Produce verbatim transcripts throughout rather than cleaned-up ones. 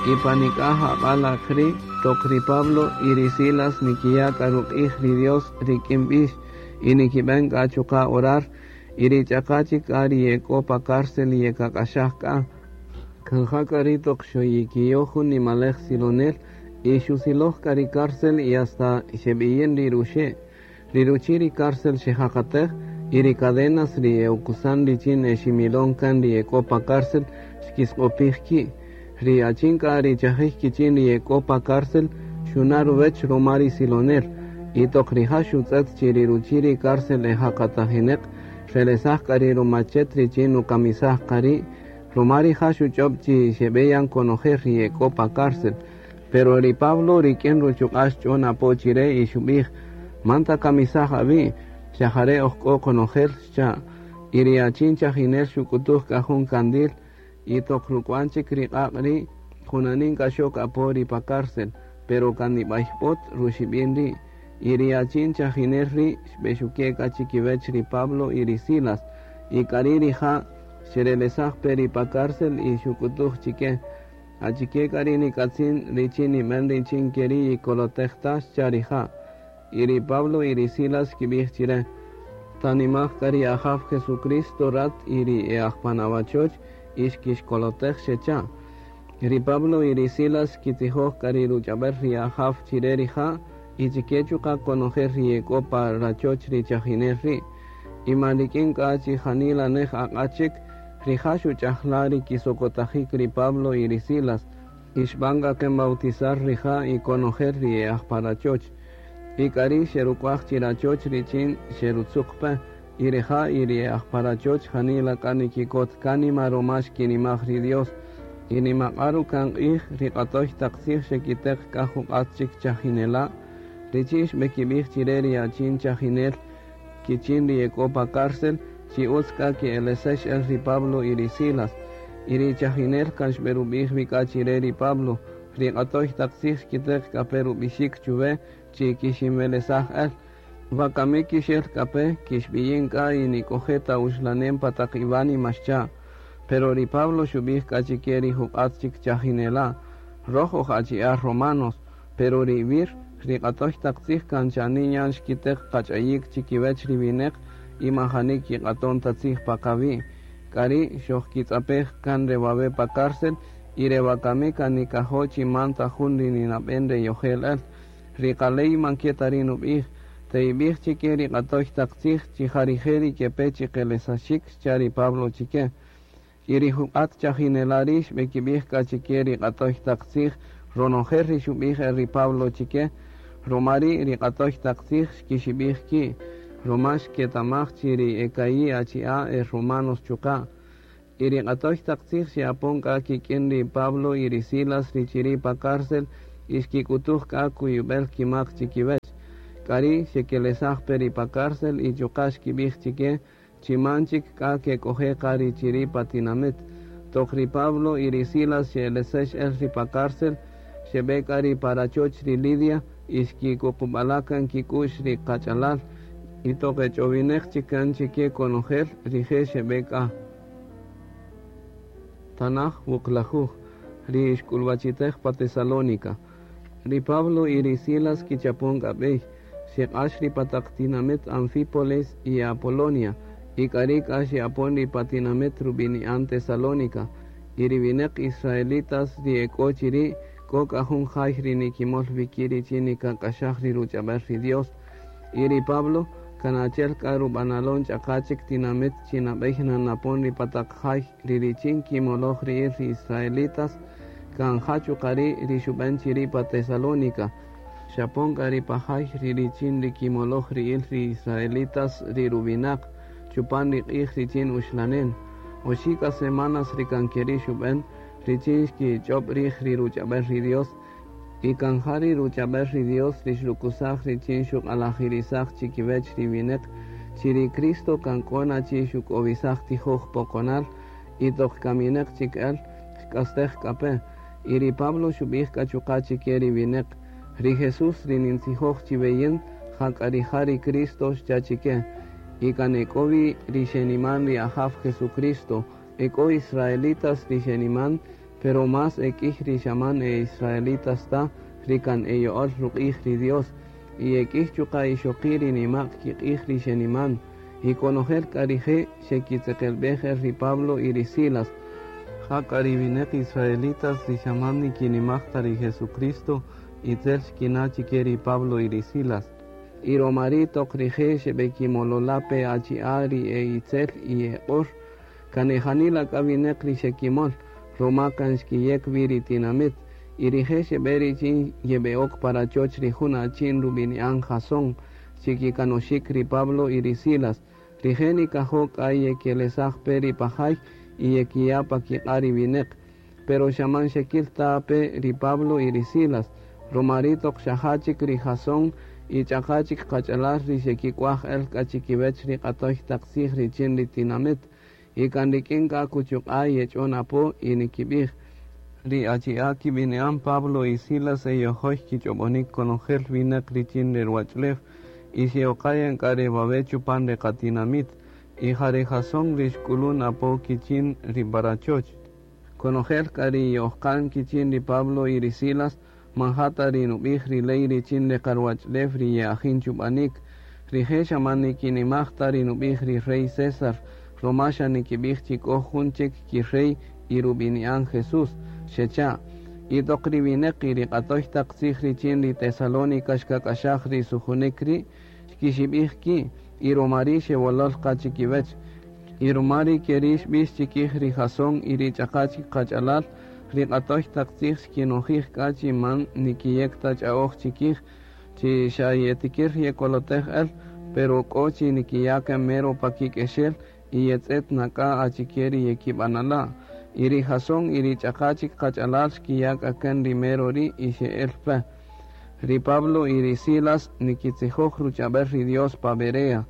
Y pa nik'aj aq'a' ri' toq ri Pablo y ri Silas nikiya' k'a ruq'ij ri Dios rik'in b'ix y nikib'en k'a chuqa' orar y ri ch'aqa chik k'a ri ye k'o pa cárcel yekak'axaj k'a. Kan ja k'a ri' toq xoyikiyoj jun nimalej silonel y xusiloj k'a ri cárcel y hasta xeb'iyin ri ruxe'. Ri ruchi' ri cárcel xejaqatej y ri cadenas ri e'ukusan richin eximilon kan ri ye k'o pa cárcel xkisq'opij ki'. Ri achin k'a ri chajij kichin ri ye k'o pa cárcel xuna' ruwech ruma ri silonel y toq rija' xutz'et chi ri ruchi' ri cárcel ejaqatajineq xrelesaj k'a ri rumachet richin nukamisaj qa ri' ruma rija' xuch'ob' chi xeb'eyan konojel ri ye k'o pa cárcel. Pero ri Pablo rik'in ruchuq'a' xch'on apo chire y xub'ij: "Man takamisaj awi', xa jare' oj k'o qonojel", xcha'. Y ri achin chajinel xuk'utuj k'a jun kandil y toq ruk'wan chik ri q'aq' ri' junanin k'a xok apo ri pa cárcel, pero kan nib'ayp'ot ruxib'in ri'. Y ri achin chajinel ri' xb'exuke' k'a chikiwech ri Pablo y ri Silas y k'ari' rija' xerelesaj pe ri pa cárcel y xuk'utuj chike: "Achike k'a ri nik'atzin richin nib'en richin keri' yikolotej ta?", xcha' rija'. Y ri Pablo y ri Silas xkib'ij chire: "Tanimaj k'a ri Ajaw Jesucristo rat y ri e aj pan awachoch y xkixkolotej", xecha'. Ri Pablo y ri Silas xkitzijoj k'a ri ruch'ab'el ri Ajaw chire rija' y chike chuqa' konojel ri ye k'o pa rachoch ri chajinel ri'. Y man rik'in k'a chi janila nej aq'a' chik, rija' xuch'ajla' ri kisokotajik ri Pablo y ri Silas y xb'an k'a ken bautizar rija' y konojel ri e aj pa rachoch. Y k'ari' xeruk'uaj chi rachoch richin xerutzuq pe y rija' y ri e aj pa rachoch janila k'a nikikot kánima ruma xkinimaj ri Dios. Y nimaq'a' ruka'n q'ij ri q'atoy taq tzij xekiteq k'a juq'at chik chajinela' richin xb'ekib'ij chire ri achin chajinel kichin ri ye k'o pa cárcel chi utz k'a ke'elesex el ri Pablo y ri Silas. Y ri chajinel kan xb'erub'ij wi k'a chire ri Pablo: "Ri q'atoy taq tzij xkiteq k'a pe rub'ixik chuwe chi kixinwelesaj el. Wakami kixel k'a pe, kixb'iyin k'a y nik'oje' ta uxlanem pa taq iwánima", xcha'. Pero ri Pablo xub'ij k'a chike ri juq'at chik chajinela': "Roj oj achi'a' romanos, pero ri wir ri q'atoy taq tzij kan chanin yan xkiteq qach'ayik chikiwech ri wineq y majani kiq'aton ta tzij pa qawi'. K'ari' xojkitz'apej kan re wawe' pa cárcel y re wakami kan nikajo' chi man ta jun ri ninab'en re yojel el. Ri qaley man ke ta ri' nub'ij. Te'ib'ij chike ri q'atoy taq tzij chi ja rije' ri kepe chiqelesaxik", xcha' ri Pablo chike. Y ri juq'at chajinela' ri' xb'ekib'ij k'a chike ri q'atoy taq tzij ronojel ri xub'ij el ri Pablo chike. Ruma ri' ri q'atoy taq tzij xkixib'ij ki' ruma xketamaj chi ri e ka'i' achi'a' e romanos chuqa'. Y ri q'atoy taq tzij xe'apon k'a kik'in ri Pablo y ri Silas ri chiri' pa cárcel y xkik'utuj k'a kuyub'el kimak chikiwech. K'ari' xekelesaj pe ri pa cárcel y chuqa' xkib'ij chike chi man chik k'a kek'oje' qa ri chiri' pa tinamit. Toq ri Pablo y ri Silas xe'elesex el ri pa cárcel, xeb'e k'a ri pa rachoch ri Lidia y xkikuqub'ala' kan kik'u'x ri qach'alal. Y toq ech'owineq chik kan chike konojel rije' xeb'e k'a. Tanaj wuqlajuj ri xk'ulwachitej pa Tesalónica. Ri Pablo y ri Silas kichapon k'a b'ey, xeq'ax ri pa taq tinamit Anfípolis y Apolonia, y k'ari' k'a xe'apon ri pa tinamit rub'ini'an Tesalónica. Y ri wineq israelitas ri e k'o chiri' k'o k'a jun jay ri nikimol wi ki' richin nikak'axaj ri ruch'ab'el ri Dios. Y ri Pablo kan achi'el k'a rub'analon ch'aqa chik tinamit chi nab'ey nanapon ri pa taq jay ri richin kimoloj ri'il ri israelitas kan ja chuqa' ri' ri xub'en chiri' pa Tesalónica. Xapon k'a ri pa jay ri richin ri kimoloj ri'il ri israelitas ri ruwinaq chupan ri q'ij richin uxlanen. Oxi' k'a semanas ri kan keri' xub'en richin xkich'ob' rij ri ruch'ab'el ri Dios y kan ja ri ruch'ab'el ri Dios ri xrukusaj richin xuq'alajirisaj chikiwech ri wineq chi ri Cristo kan k'o na chi xuk'owisaj tijoj poqonal y toq kamineq chik el xk'astej k'a pe. Y ri Pablo xub'ij k'a chuqa' chike ri wineq: "Ri Jesús ri nintzijoj chiwe yin, ja k'a rija' ri Cristo", xcha' chike. Y kan e k'o wi ri xeniman ri Ajaw Jesucristo, e k'o israelitas ri xeniman, Pero más e k'ïy ri xa man e israelitas ta ri kan e yo'ol ruq'ij ri Dios. Y e k'ïy chuqa' ixoqi' ri nima'q kiq'ij ri xeniman. Y konojel k'a rije' xekitzeqelb'ej el ri Pablo y ri Silas. Jak'a ri wineq israelitas ri xa man nikinimaj ta ri Jesucristo itzel xkina' chike ri Pablo y ri Silas. Y roma ri' toq rije' xeb'ekimolola' pe achi'a' ri e itzel y e q'or, kan e janila k'a wineq ri xekimol, roma kan xkiyek wi ri tinamit. Y rije' xeb'e richin yeb'e'ok pa rachoch ri jun achin rub'ini'an Jasón, chikikanoxik ri Pablo y ri Silas. Rije' nikajo' k'a yekelesaj pe ri pa jay y yekiya' pa kiq'a' ri wineq. Pero xa man xekil ta pe ri Pablo y ri Silas. Roma ri' toq xaja' chik ri Jasón y ch'aqa' chik qach'alal ri xekik'uaj el k'a chikiwech ri q'atoy taq tzij richin ri tinamit. Y kan rik'in k'a kuchuq'a' yech'on apo y nikib'ij. Ri achi'a' kib'ini'an Pablo y Silas e yojoy kich'ob'onik konojel wineq richin ri ruwach'ulew y xe'oqayan k'a re wawe' chupan re qatinamit. Y ja ri Jasón ri xk'ulun apo kichin ri pa rachoch. Konojel k'a ri ye'ojqan kichin ri Pablo y ri Silas man ja ta ri nub'ij ri ley richin ri qaruwach'ulew ri ye'ajin chub'anik. Rije' xa man nikinimaj ta ri nub'ij ri rey César, roma xa nikib'ij chi k'o jun chik kirey y rub'ini'an Jesús, xecha'. Y toq ri wineq y ri q'atoy taq tzij richin ri Tesalónica xkak'axaj ri sujunik ri' xkixib'ij ki' y roma ri' xewolol qa chikiwech. Y roma ri' keri' xb'ix chikij ri Jasón y ri ch'aqa' chik qach'alal, ri q'atoy taq tzij xkinojij k'a chi man nikiyek ta ch'a'oj chikij, chi xa yetikir yekolotej el, pero k'o chi nikiya' kan mero pa kik'exel y yetz'et na k'a achike ri yekib'anala'. Y ri Jasón y ri ch'aqa' chik qach'alal xkiya' k'a kan ri mero ri' y xe'el pe. Ri Pablo y ri Silas nikitzijoj ruch'ab'el ri Dios pa Berea.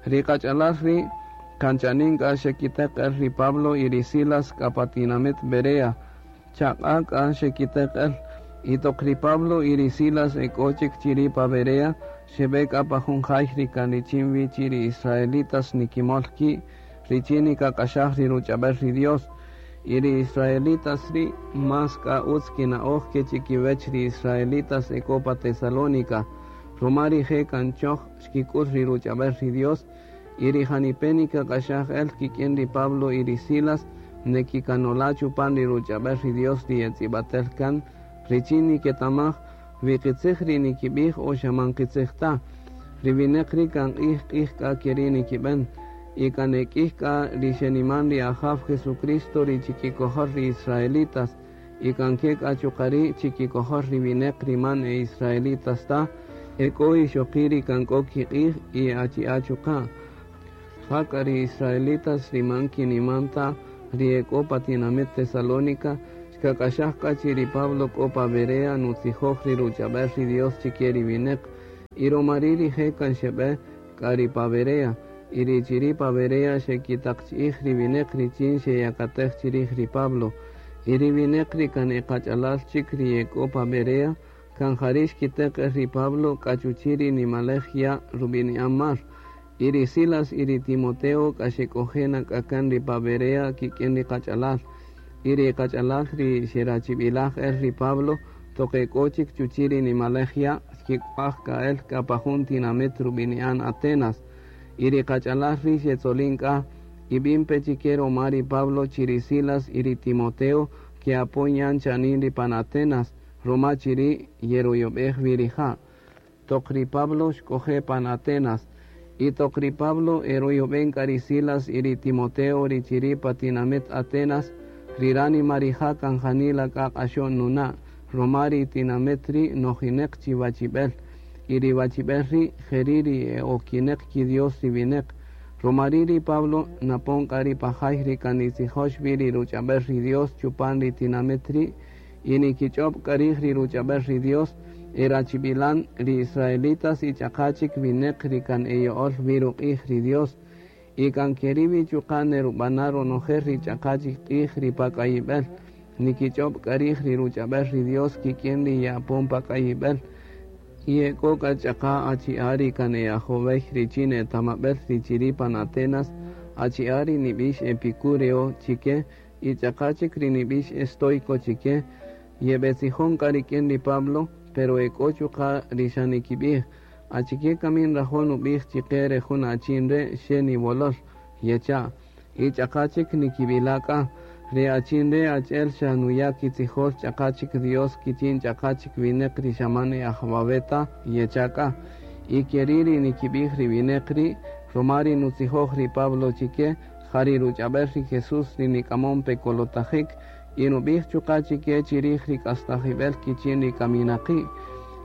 Ri qach'alal ri' kan chanin k'a xekiteq el ri Pablo y ri Silas k'a pa tinamit Berea. Chaq'a' k'a xekiteq el. Y toq ri Pablo y ri Silas e k'o chik chiri' pa Berea, xeb'e k'a pa jun jay ri kan richin wi chi ri israelitas nikimol ki' richin nikak'axaj ri ruch'ab'el ri Dios. Y ri israelitas ri' más k'a utz kina'oj ke chikiwech ri israelitas e k'o pa Tesalónica. Roma rije' kan choj xkik'ul ri ruch'ab'el ri Dios, y ri janipe' nikak'axaj el kik'in ri Pablo y ri Silas nekikanola' chupan ri ruch'ab'el ri Dios ri yetz'ib'atel kan, richin niketamaj wi qitzij ri nikib'ij o xa man qitzij ta. Ri wineq ri' kan q'ij q'ij k'a keri' nikib'en. Y kan e k'ïy k'a ri xeniman ri Ajaw Jesucristo ri chikikojol ri israelitas, y kan ke k'a chuqa' ri' chikikojol ri wineq ri man e israelitas ta, e k'o ixoqi' ri kan k'o kiq'ij y achi'a' chuqa'. Jak'a ri israelitas ri man kiniman ta ri e k'o pa tinamit Tesalónica, xkak'axaj k'a chi ri Pablo k'o pa Berea nutzijoj ri ruch'ab'el ri Dios chike ri wineq. Y roma ri' rije' kan xeb'e k'a ri pa Berea. Y ri chiri' pa Berea xekitaqchi'ij ri wineq richin xeyakatej chirij ri Pablo. Y ri wineq ri kan e qach'alal chik ri e k'o pa Berea, kan jari' xkiteq el ri Pablo k'a chuchi' ri nimalej ya' rub'ini'an mar. Y ri Silas y ri Timoteo k'a xek'oje' na k'a kan ri pa Berea kik'in ri qach'alal. Y ri qach'alal ri xerachib'ilaj el ri Pablo toq e k'o chik chuchi' ri nimalej ya' xkik'uaj k'a el k'a pa jun tinamit rub'ini'an Atenas. Y ri qach'alal ri' xetzolin k'a y b'in pe chike roma ri Pablo chi ri Silas y ri Timoteo ke'apon yan chanin ri pan Atenas, roma chiri' yeruyob'ej wi rija'. Toq ri Pablo xk'oje' pan Atenas. Y toq ri Pablo eruyob'en k'a ri Silas y ri Timoteo ri chiri' pa tinamit Atenas, ri ránima rija' kan janila k'a q'axo'n nuna', roma ri tinamit ri' nojineq chi wachib'el. Y ri wachib'el ri' jeri' ri e'okineq kidios ri wineq. Roma ri' ri Pablo napon k'a ri pa jay ri kan nitzijox wi ri ruch'ab'el ri Dios chupan ri tinamit ri' y nikich'ob' k'a rij ri ruch'ab'el ri Dios, erachib'ilan ri israelitas y ch'aqa' chik wineq ri kan eyo'ol wi ruq'ij ri Dios. Y kan keri' wi chuqa' nerub'ana' ronojel ri ch'aqa' chik q'ij ri pa k'ayib'el. Nikich'ob' k'a rij ri ruch'ab'el ri Dios kik'in ri ye'apon pa k'ayib'el. Y e k'o k'a ch'aqa' achi'a' ri kan e ajowey richin etamab'el ri chiri' pan Atenas, achi'a' ri nib'ix Epicúreo chike Y ch'aqa' chik ri nib'ix estoico chike, yeb'etzijon k'a rik'in ri Pablo, pero ek'o chuqa' ri xa nikib'ij, achike kami nrajo' nub'ij chike re jun achin re' xe niwolol, yecha'. Y ch'aqa' chik nikib'ila' k'a, re achin re' achi'el xa nuya' kitzijol ch'aqa' chik Dios kichin ch'aqa' chik wineq ri xa man e aj ta, yecha' k'a. Y keri' ri nikib'ij ri wineq ri', ruma ri nutzijoj ri Pablo chike, ja ri ruch'ab'el ri Jesús ri nik'amon pe kolotajik, y nub'ij chuqa' chike chirij ri k'astajib'el kichin ri kaminaqi'.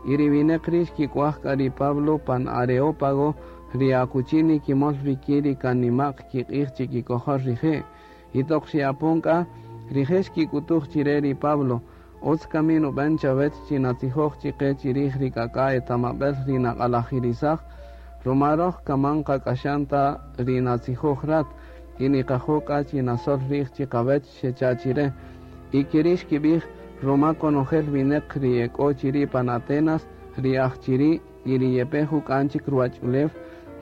Y ri wineq ri' xkik'uaj k'a ri Pablo pan Areópago, ri akuchi nikimol wiki ri kan nima'q kiq'ij chikikojol rije'. Y toq xe'apon k'a, rije' xkik'utuj chire ri Pablo, utz kami nub'en chawech chi natzijoj chike chirij ri k'ak'a' etamab'el ri naq'alajirisaj, ruma roj kaman qak'axan ta ri natzijoj rat, y niqajo' k'a chi nasol rij chiqawech xecha' chire. Y keri' xkib'ij, ruma konojel wineq ri ek'o chiri' pan Atenas, ri aj chiri' y ri yepe juk'an chik ruwach'ulew,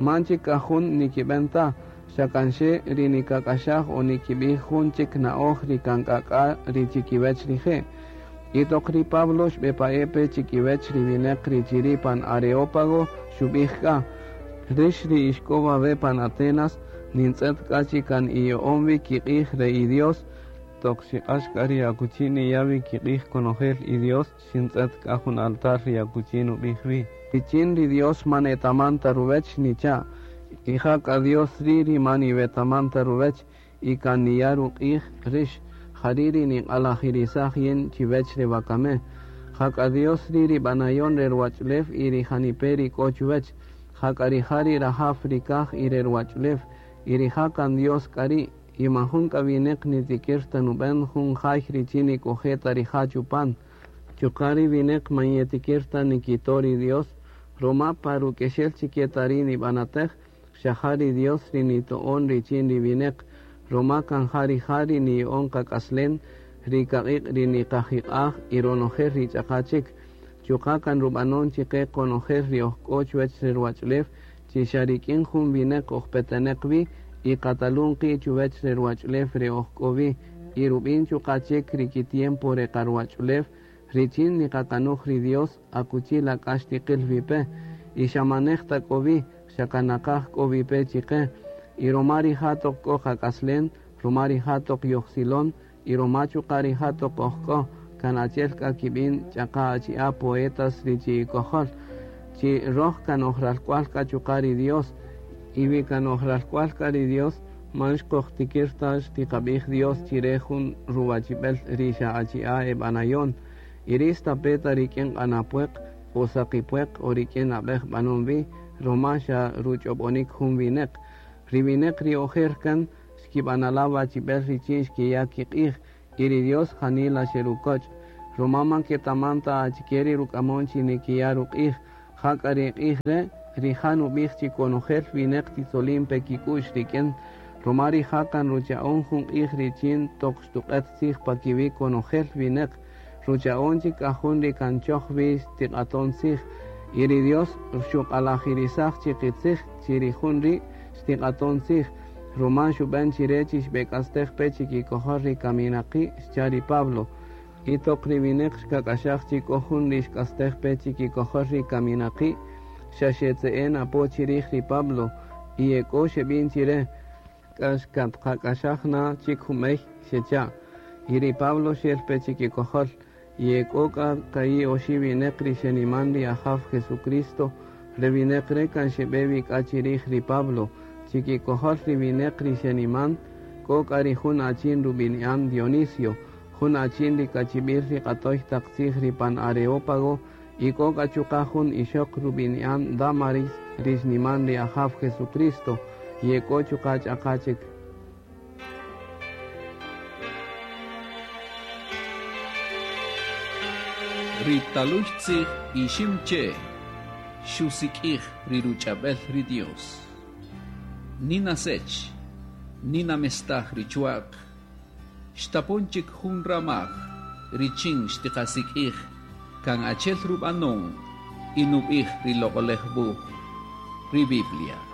man chik k'a jun nikib'en ta, xa kan xe ri nikak'axaj o nikib'ij jun chik na'oj ri kan k'ak'a ri chikiwech rije'. Y toq ri Pablo xb'epa'e pe chikiwech ri wineq ri chiri' pan Areópago, xub'ij k'a, rix ri ixk'o wawe pan Atenas, nintz'et k'a chi kan iya'on wi kiq'ij re i-Dios, toq xiq'ax k'a ri akuchi niya' wi kiq'ij konojel i-Dios, xintz'et k'a jun altar ri akuchi nub'ij wi. Richin ri Dios man etaman ta ruwech nicha', y ja k'a Dios ri' ri man iwetaman ta ruwech, y kan niya' ruq'ij rix, jari' ri niq'alajirisaj yin chiwech re wakame. Ja k'a Dios ri' ri b'anayon re ruwach'ulew y ri janipe' ri k'o chuwech, ja k'a rija' ri rajaw ri kaj y re ruwach'ulew, y rija' kan Dios k'a ri', y man jun k'a wineq nitikir ta nub'en jun jay richin nik'oje' ta rija' chupan. Chuqa' ri wineq man yetikir ta nikito' ri Dios, ruma pa ruk'exel chike ta ri nib'anatej, xa ja ri Dios ri nito'on richin ri wineq, ruma kan ja rija' ri niya'on qak'aslen, ri kaq'iq' ri niqajiq'aj y ronojel ri ch'aqa' chik. Chuqa' kan rub'anon chike konojel ri ojk'o chuwech re ruwach'ulew, chi xa rik'in jun wineq ojpeteneq wi, y qatalun qi' chuwech re ruwach'ulew re ojk'o wi, y rub'in chuqa' chik ri kitiempo re qaruwach'ulew, richin niqakanuj ri Dios akuchi la k'ax tiqil wi pe, y xa manej ta k'o wi, xa kanaqaj k'o wi pe chike, y ruma rija' toq k'o qak'aslen, ruma rija' toq yojsilon, y ruma chuqa' rija' toq ojk'o, kan achi'el k'a kib'in ch'aqa' achi'a' poetas ri chi'ikojol, chi roj kan ojralk'ual k'a chuqa' ri Dios, y wi kan ojralk'ual k'a ri Dios, man xkojtikir ta xtiqab'ij Dios chire jun ruwachib'el ri xa achi'a' eb'anayon, y ri stape' ta rik'in q'anapueq o saqipueq o rik'in ab'ej b'anon wi, ruma xa ruch'ob'onik jun wineq. Ri wineq ri ojer kan xkib'anala' wachib'el richin xkiya' kiq'ij, y ri Dios janila xerukoch', ruma man ketaman ta achike ri ruk'amon chi nikiya' ruq'ij, ja k'a ri q'ij re', rija' nub'ij chi konojel wineq titzolin pe kik'u'x rik'in, ruma rija' kan rucha'on jun q'ij richin toq xtuq'et tzij pa kiwi' konojel wineq, rucha'on chik k'a jun ri kan choj wi xtiq'aton tzij, y ri Dios xuq'alajirisaj chi qitzij chi ri jun ri' xtiq'aton tzij, ruma xub'en chire chi xb'ek'astej pe chikikojol ri kaminaqi' xcha' ri Pablo. Y toq ri wineq xkak'axaj chi k'o jun ri xk'astej pe chikikojol ri kaminaqi', xa xetze'en apo chirij ri Pablo, y ek'o xeb'in chire, k'a xkatqak'axaj na chik jumey xecha'. Y ri Pablo xel pe chikikojol, y ek'o k'a ka'i' oxi' wineq ri xeniman ri Ajaw Jesucristo, re wineq re' kan xeb'e wi k'a chirij ri Pablo, chikikojol ri wineq ri xeniman, k'o k'a ri jun achin rub'ini'an Dionisio, jun achin ri kachib'il ri q'atoy taq tzij ri pan Areópago, y k'o k'a chuqa' jun ixoq rub'ini'an Damaris ri xniman ri Ajaw Jesucristo, y ek'o chuqa' ch'aqa' chik. Ri taluy tzij ixim che, xusik'ij ri ruch'ab'el ri Dios. Nina sech, nina mestaj ri chuaq, xtapon chik jun ramaj, richin xtiqasik'ij, kan achel rub'anon, y nub'ij ri loq'olej wuj, ri Biblia.